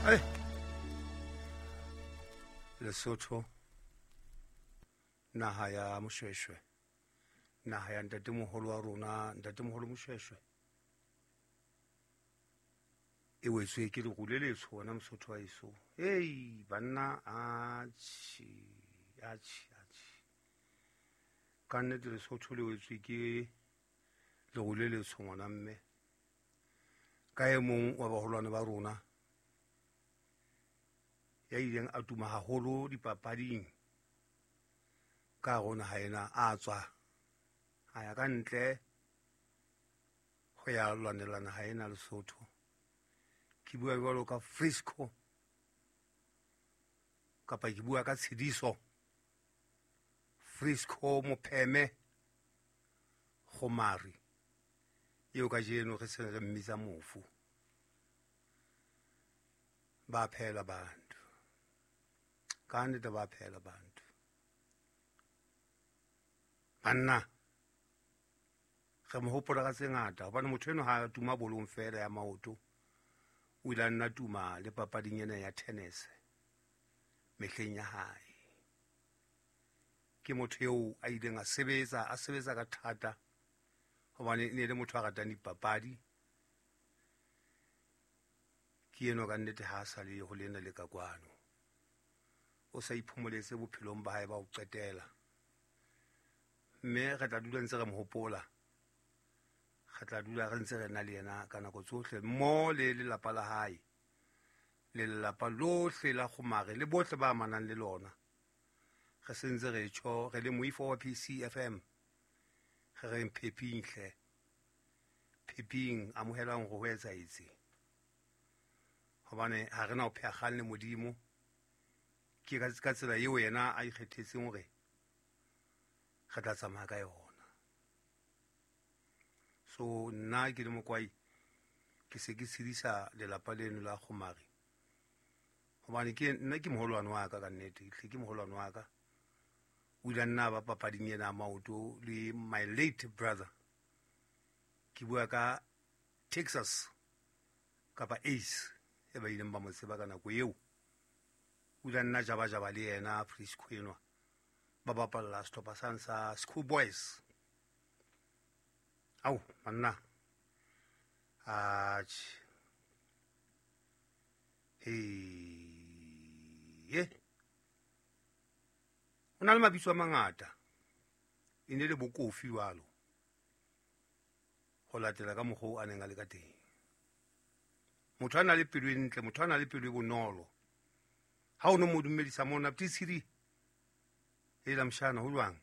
Hey. Lesotho, naha ya Moshweshwe, naha ya ntatemoholo wa rona, ntatemoholo Moshweshwe, e wetswe ke leru le letsho wena Mosotho wa heso. Hei banna, atjhe, atjhe, atjhe, ka nnete Lesotho le wetswe ke leru le letsho ngwana mme, ka e mong wa baholwane ba rona ya ileng a tuma haholo dipapading ka rona ha ena a tswa a ya ka ntle ho ya lwanelana ha ena Lesotho. Ke bua jwalo ka Frisco kapa ke bua ka Tshidiso Frisco Mopheme Kgomari, eo kajeno re seng re mmitsa mofu. Ba phela bantu, ka nnete ba phela bantu. Banna re mo hopola ka tse ngata, hobane motho eno ha a tuma bolong fela ya maoto, o ile a nna tuma le papading ena ya tennis mehleng ya hae. Ke motho eo a ileng a sebetsa, a sebetsa ka thata, hobane e ne le motho a ratang dipapadi. Ke eno ka nnete ha a sa le ho lena le ka kwano, o sa iphomoletse bophelong ba hae ba ho qetela, mme re tla dula ntse re mo hopola, re tla dula re ntse re na le yena ka nako tsohle, mmoho le lelapa la hae, le lelapa lohle la Kgomare le bohle ba amanang le lona. Re sentse re tjho re le moifo wa PCFM, re reng pheping hle, pheping, amohelang hore ho etsahetse, hobane ha re na ho pheha kgang le Modimo. Ke ka tsela eo yena a ikgethetseng hore re tla tsamaya ka yona. So nna ke le Mokwai, ke se ke tshedisa lelapa leno la Kgomare, hobane ke nna ke moholwane wa ka, ka nnete hle ke moholwane wa ka. O ile a nna ba papading ena ya maoto le my late brother, ke bua ka Texas kapa Ace e ba ileng ba mo tseba ka nako eo. O ile a nna jabajaba le yena Frisco enwa, ba bapalla sehlopha sane sa School Boys. Au banna, atjhe, he, ho na le mabitso a mangata, e ne le bokofi jwalo ho latela ka mokgwa oo a neng a le ka teng. Motho a na le pelo e ntle, motho a na le pelo e bonolo. Ha o no mo dumedisa mona, Ptitshiri, hela mshana, ho jwang?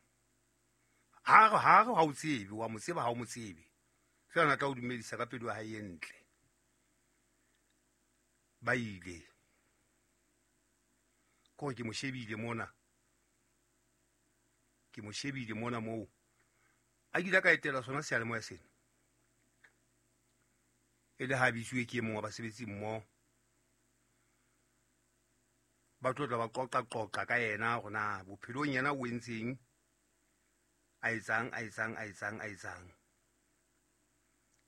Ha re ha o tsebe, wa mo tseba ha o mo tsebe. Feela na tla o dumedisa ka pelo ya hae e ntle. Ba ile. Ke hore ke mo shebile mona. Ke mo shebile mona moo. A kile ka etela sona seyalemoya sena. E le ha bitsuwe ke e mong wa basebetsi mmoho. Ba tlo tla ba qoqa-qoqa ka yena hore na bophelong yena o entseng, a etsang, a etsang, a etsang, a etsang.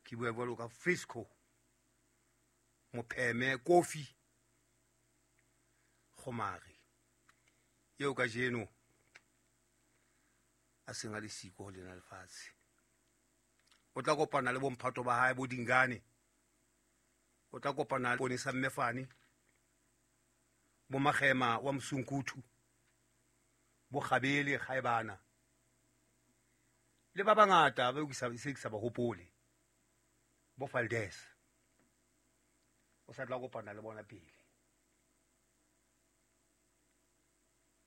Ke bua jwalo ka Frisco Mopheme Kofi Kgomare, eo kajeno a seng a le siko ho lena lefatshe. O tla kopana le bomphato ba hae bo Dingane, o tla kopana le Ponesa Mmefane, bo Magema wa Mosunkuthu, bo Kgabele Kgaebana, le ba bangata ba ke sa se ke sa ba hopole, bo Valdez. O sa tla kopana le bona pele.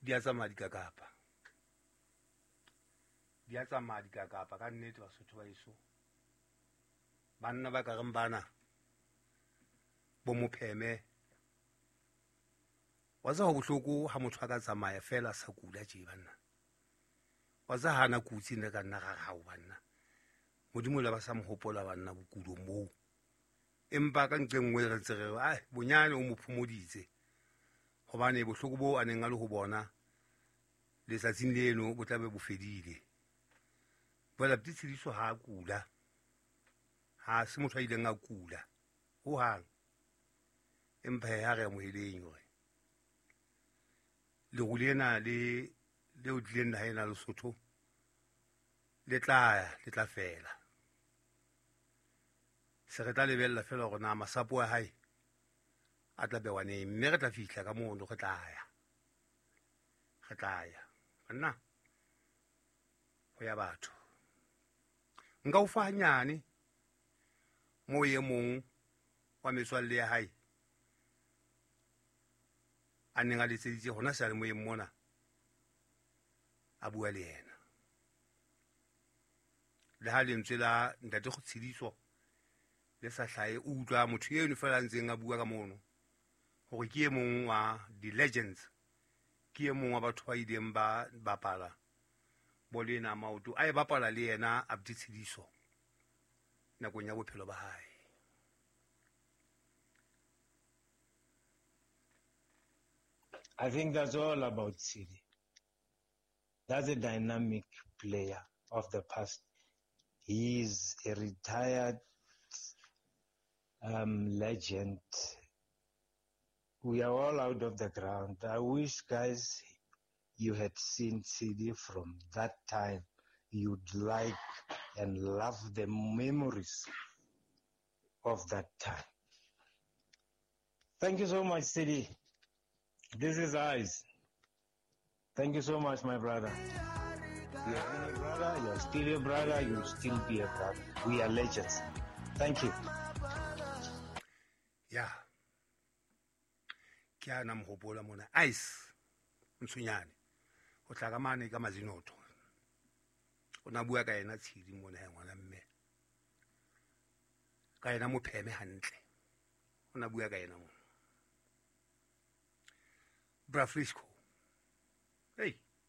Di a tsamaya dikakapa, di a tsamaya dikakapa ka nnete Basotho ba heso. Banna ba ka reng bana bo Mopheme, wa tseba ho bohloko ha motho a ka tsamaya fela a sa kula tje banna. Wa tseba ha ana kutse nne ka nna ra re hao banna, Modimo le ba sa mo hopola banna bokulong boo. Empa ka nqe nngwe re ntse re re, ai, bonyane o mo phomoditse, hobane bohloko boo a neng a le ho bona letsatsing leno bo tla be bo fedile. Jwale Abuti Tshidiso ha a kula, ha se motho a ileng a kula hohang. Empa ha re amoheleng hore leru lena le leo tlileng naha ena Lesotho le tla ya, le tla fela. Se re tla lebella fela hore na masapo a hae a tla bewa neng, mme re tla fihla ka mono, re tla ya. Re tla ya. Banna, ho ya batho. Nka o fa hanyane moo e mong wa metswalle ya hae a neng a letseditse hona seyalemoyeng mona a bua le yena. Le ha lentswe la ntate Tshediso le sa hlahe, o utlwa motho eno fela a ntseng a bua ka mono hore ke e mong wa di-legends, ke e mong wa batho ba ileng ba bapala bolo ena ya maoto, a e bapala le yena Abdi Tshediso nakong ya bophelo ba hae. I think that's all about Tshidi. That's a dynamic player of the past. He's a retired legend. We are all out of the ground. I wish, guys, you had seen Tshidi from that time. You'd like and love the memories of that time. Thank you so much, Tshidi. This is Eyes. Thank you so much, my brother. You have been a brother, you're still a brother, you'll still be a brother. We are legends. Thank you. Yeah. Ke ana mohopola mona. Ice. Ntshunyane. O tla ka mane ka Mazinoto. O na bua ka yena Tshidi mona ya ngwana mme. Ka yena mopheme hantle. O na bua ka yena mona. Bra Frisco. Hey.